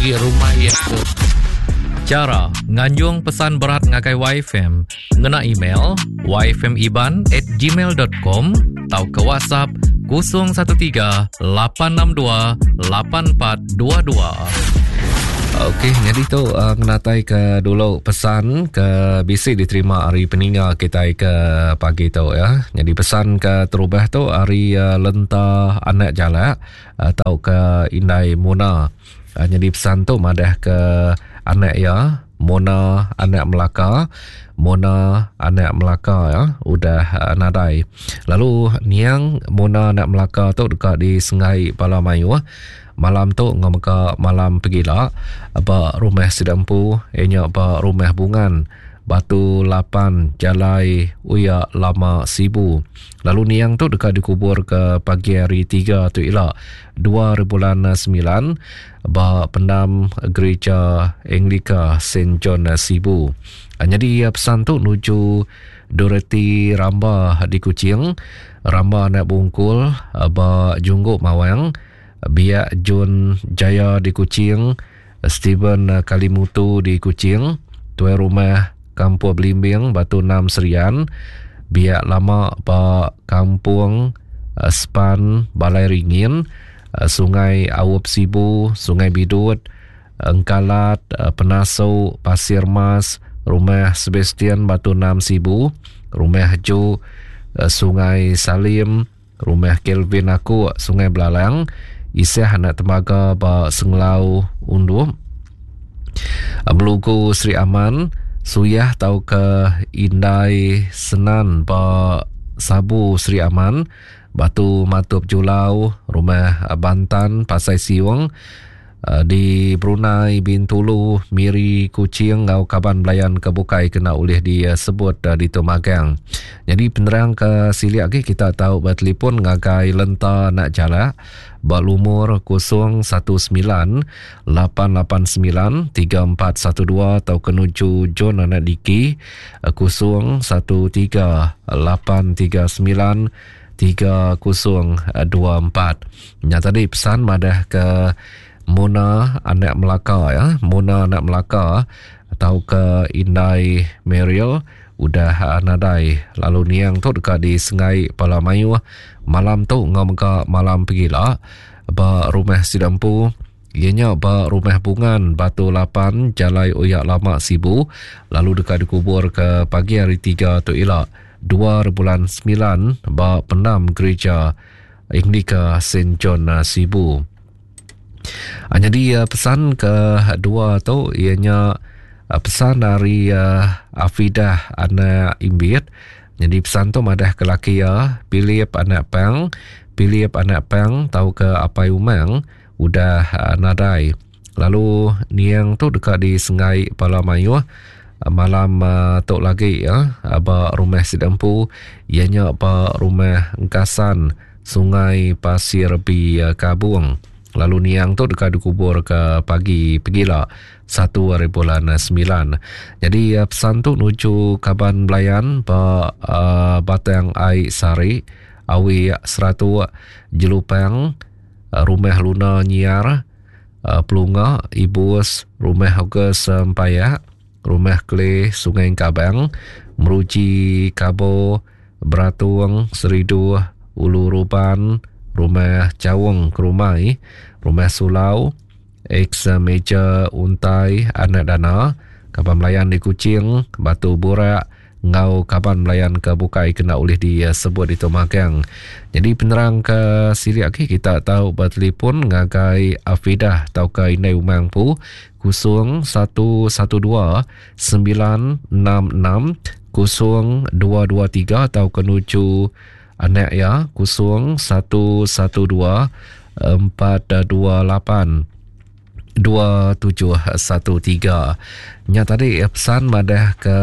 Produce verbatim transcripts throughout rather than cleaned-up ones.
Agi rumah iya tu. Chara nganjung pesan berat ngagai Y F M ngena email y f m iban at gmail dot com tauka WhatsApp kosong satu tiga lapan enam dua lapan empat dua dua. Okey, jadi tu uh, ngenatai ke dulu pesan ke bisi diterima hari peninga kita ke pagi tu ya. Jadi pesan ke terubah tu hari uh, Lenta Anak Jalak atau ke Indai Mona. Uh, jadi pesan tu madah ke anak ya, Mona anak Melaka, Mona anak Melaka ya, udah uh, nadai. Lalu niang Mona anak Melaka tu dekat di Sungai Palamayuh. Malam tu ngameka malam pegila ba rumah Sidampu, ianya ba rumah Bungan Batu lapan Jalai Uya Lama Sibu. Lalu niang tu dekat dikubur ke pagi hari tiga tu ila dua bulan sembilan ba pendam Gereja Anglika Saint John Sibu. Jadi pesan tu nuju Dorothy Ramba di Kuching, Ramba anak Bungkul ba Jungguk Mawang, Biak Jun Jaya di Kuching, Steven Kalimutu di Kuching, Tuai Rumah Kampung Belimbing Batu Enam Serian, Biak Lama ba Kampung Span Balai Ringin, Sungai Awup Sibu, Sungai Bidut, Engkalat, Penasu, Pasir Mas, Rumah Sebastian Batu Enam Sibu, Rumah Ju, Sungai Salim, Rumah Kelvin Aku, Sungai Belalang, Isah anak Temaga ba Senglau Undup, Melugu Sri Aman, Suyah tau ke Indai Senan ba Sabu Sri Aman, Batu Matup Julau, Rumah Bantan Pasai Siung di Brunei, Bintulu, Miri, Kuching ngau kaban belayan ke bukai kena ulih disebut di Tumagang. Jadi penerang ke siliak lagi kita tahu bertelefon ngagai Lenta Nak Jalak ba lumur kosong satu sembilan lapan lapan sembilan tiga empat satu dua atau kenuju John Anak Diki kosong satu tiga lapan tiga sembilan tiga kosong dua empat. Nya tadi pesan madah ke Mona anak Melaka ya, Mona anak Melaka atau ke Indai Mariel udah nadai. Lalu niang tu dekat di Sungai Palamayuh malam tu ngau mega malam pegila ba rumah Sidampu, ianya ba rumah Bungan Batu lapan Jalai Oyak Lama Sibu, lalu dekat dikubur ke pagi hari tiga tu ila dua bulan sembilan ba pendam Gereja Anglika Saint John Sibu. Jadi pesan ke dua tu ianya pesan dari Afidah anak Imbit. Jadi pesan tu madah ke laki ya, Philip anak Pang, Philip anak Pang tau ke Apai Umang udah nadai. Lalu niang tu dekat di Sungai Palamayuh malam tu lagi ya, ba rumah Sidampu, ianya ba rumah Engkasan Sungai Pasir Bi Kabung. Lalu niang tu dekat dikubur ke pagi pegila satu hari bulan sembilan. Jadi pesan tu nuju kaban belayan ba uh, Batang Ai Sari, Awi Seratu, Jelupang, Rumah Luna Nyiar, uh, Pelunga, Ibus, Rumah August Empayak, Rumah Kelih Sungai Kabang, Meruji Kabo, Beratung, Seridu, Ulu Ruban, Rumah Cawung Kerumai, Rumah Sulau, ex Meja Untai Anak Dana, kaban melayan di Kuching, Batu Burak, ngau kaban melayan ke bukai kena ulih disebut di Tumagang. Jadi penerang ke siliak lagi kita tahu bertelefon ngagai Afidah tau ke Indai Umang Pu kosong satu satu dua sembilan enam enam kosong dua dua tiga atau ke nuju anak ya kosong satu satu dua empat dua lapan dua tujuh satu tiga. Nya tadi pesan madah ke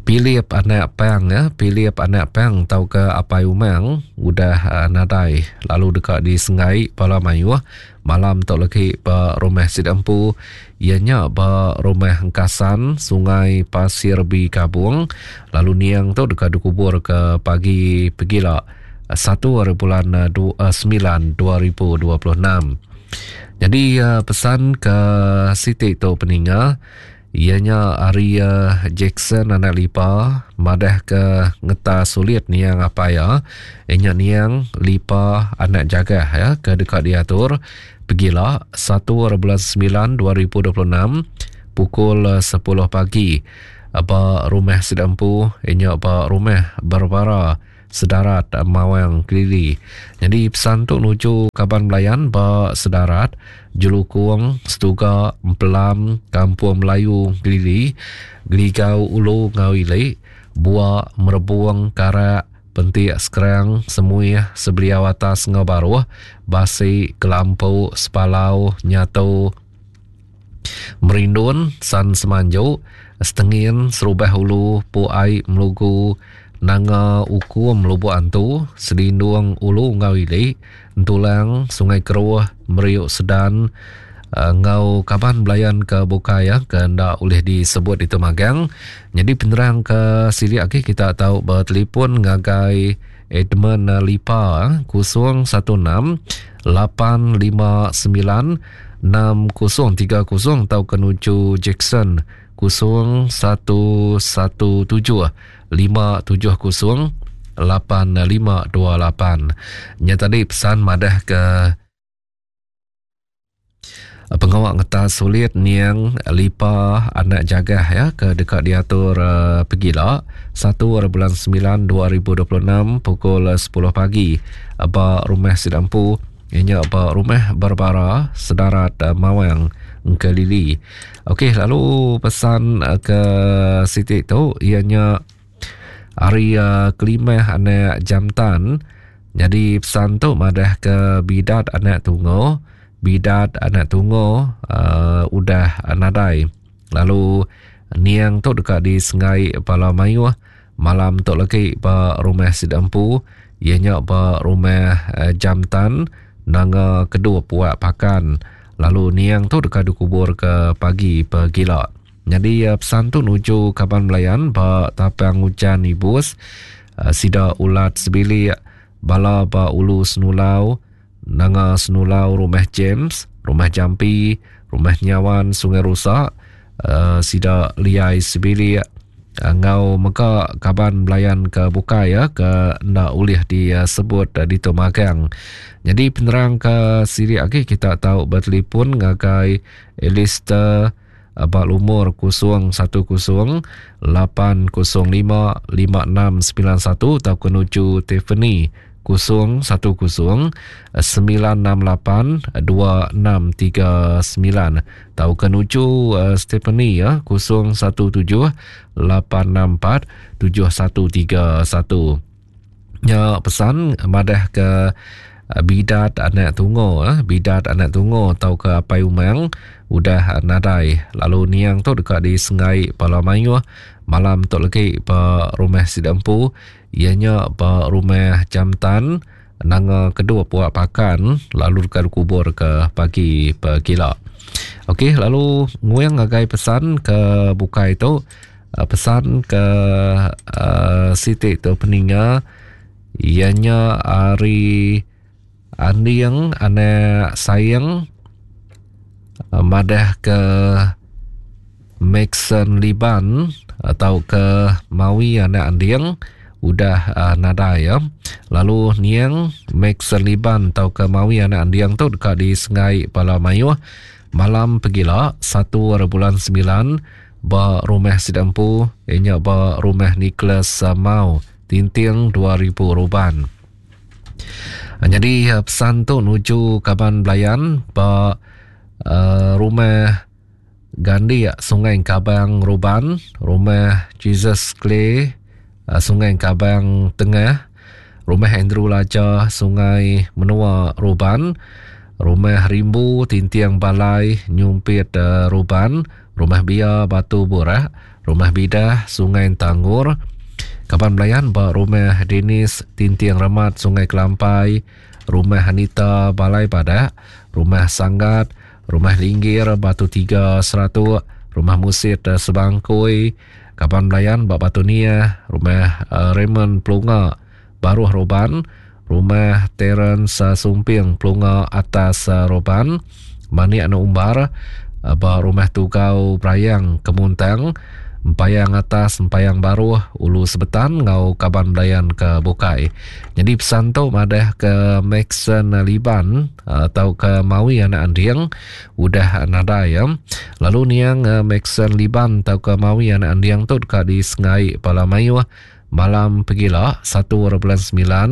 Philip anak Pang ya, Philip anak Pang tau ke Apai Umang udah uh, nadai, lalu dekat di Sungai Palamayuh malam tu lagi ba rumah Sidampu, ianya ba rumah Engkasan Sungai Pasir Bi Kabung. Lalu niang tu dekat dikubur ke pagi pegila satu hari bulan sembilan dua ribu dua puluh enam. Jadi uh, pesan ke Siti tu peninga ianya ari uh, Jackson anak Lipa madah ke ngeta sulit niang apa ya inya niang Lipa anak jagah ya ke dekat diatur pegila satu bulan sembilan dua ribu dua puluh enam pukul sepuluh pagi ba rumah Sidampu inya ba rumah Barbara Sedarat Mawang Kelili. Jadi pesan tu nuju kaban belayan ba Sedarat, Jelukung, Setuga, Empelam, Kampung Melayu Kelili, Geligau Ulu Ngau Ili, Bua, Merebuang, Karak, Pentik Sekerang, Semuih, Sebeliau Atas Ngau Baruh, Basi, Kelampu, Sepalau, Nyatu, Merindun, San Semanjuk, Setengin, Serubah Ulu, Puai, Melugu, Nanga Ukum Lubuk Antu, Selindung Ulu Ngau Ili, Entulang, Sungai Keruh, Meriuk Sedan, ngau kaban belayan ke Bukaya ke ndak boleh disebut itu magang. Jadi penerang ke sini lagi kita tahu bertelefon ngagai Edmund Lipa kosong satu enam lapan lima sembilan enam kosong tiga kosong atau ke nuju Jackson kosong satu satu tujuh lima tujuh kosong lapan lima dua lapan. Nya tadi pesan madah ke pengawak ngetas sulit niang Lipa anak jagah ya ke dekat diatur uh, pegila satu bulan sembilan dua ribu dua puluh enam pukul sepuluh pagi ba rumah Sidampu ianya ba rumah Barbara Sedarat uh, Mawang Engkelili. Okey, lalu pesan uh, ke Siti tu ianya hari uh, kelimah anak Jamtan. Jadi pesan tu madah ke bidat anak tungo, bidat anak tungo uh, udah nadai. Lalu niang tu dekat di Sengai Pala Mayuh malam tu lagi ba rumah Sidampu ianya ba rumah uh, Jamtan nanga kedua puak pakan. Lalu niang tu dekat dikubur ke pagi pegila. Jadi uh, pesan tu nuju kaban belayan ba Tapang Hujan Ibus, uh, sida ulat sebilik bala ba Ulu Senulau, Nanga Senulau, rumah James, rumah Jampi, rumah Nyawan Sungai Rusak, uh, sida liai sebilik uh, ngau mega kaban belayan ke bukai ya ke ndak ulih disebut uh, di Tomagang. Jadi penerang ke siri lagi kita tahu bertelefon ngagai Alistair abak lumur kosong satu kosong lapan kosong lima lima enam sembilan satu atau menuju Tiffany kosong satu kosong sembilan enam lapan dua enam tiga sembilan atau menuju uh, Stephanie ya kosong satu tujuh lapan enam empat tujuh satu tiga satu. Ya pesan madah ke bidat anak tungo eh bidat anak tungo atau ke apai umang udah nadai. Lalu niang tu dekat di Sengai Pala Mayuh malam tu lagi ba rumah Sidampu ianya ba rumah Jamtan nanga kedua puak pakan lalu dekat kubur ke pagi pegila. Okey, lalu nguyang ngagai pesan ke bukai tu pesan ke uh, Siti tu peninga ianya ari Andiang anak sayang madah ke Maxon Liban atau ke Mawi anak Andiang udah uh, nadai ya. Lalu niang Maxon Liban atau ke Mawi anak Andiang tu dekat di Sengai Pala Mayuh malam pegila satu bulan sembilan ba rumah Sidampu ianya ba rumah Nicholas Mau Tinting dua ribu Ruban. Jadi pesan tu nuju kaban belayan ba uh, rumah Gandhi Sungai Kabang Ruban, rumah Jesus Clay uh, Sungai Kabang Tengah, rumah Andrew Laja Sungai Menua Ruban, rumah Rimbu Tintiang Balai Nyumpit uh, Ruban, rumah Bia Batu Burak, rumah Bidah Sungai Tangur, kaban belayan ba rumah Dennis Tintiang Remat Sungai Kelampai, rumah Anita Balai Badak, rumah Sanggat, rumah Linggir Batu Tiga Seratuk, rumah Musit Sebangkui, kaban belayan ba Batu Nia, rumah uh, Raymond Pelunga Baruh Roban, Rumah Terence Sumping Pelunga Atas Roban, Manik Anak Umbar ba Rumah Tugau Brayang Kemuntang, Empayang Atas Empayang Baruh Ulu Sebetan enggau kaban belayan ke bukai. Nyadi pesan tu madah ke Maxon Liban atau ke Mawi Anak Anding udah nadai ya. Lalu niang Maxon Liban atau ke Mawi Anak Anding tu deka disengai bala mayuh malam pegila satu bulan sembilan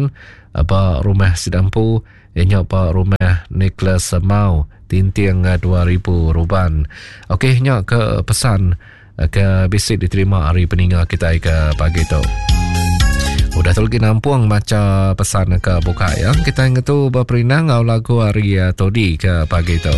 ba rumah Sidampu ianya ba rumah Nicholas Mau Tinting dua ribu Ruban. Okey, nya ke pesan ke bisi diterima hari peninga kita ke pagi tu. Udah tu lagi nampung maca pesan ke buka ya. Kita ngetu berperinang ngau lagu hari Todi ke pagi tu.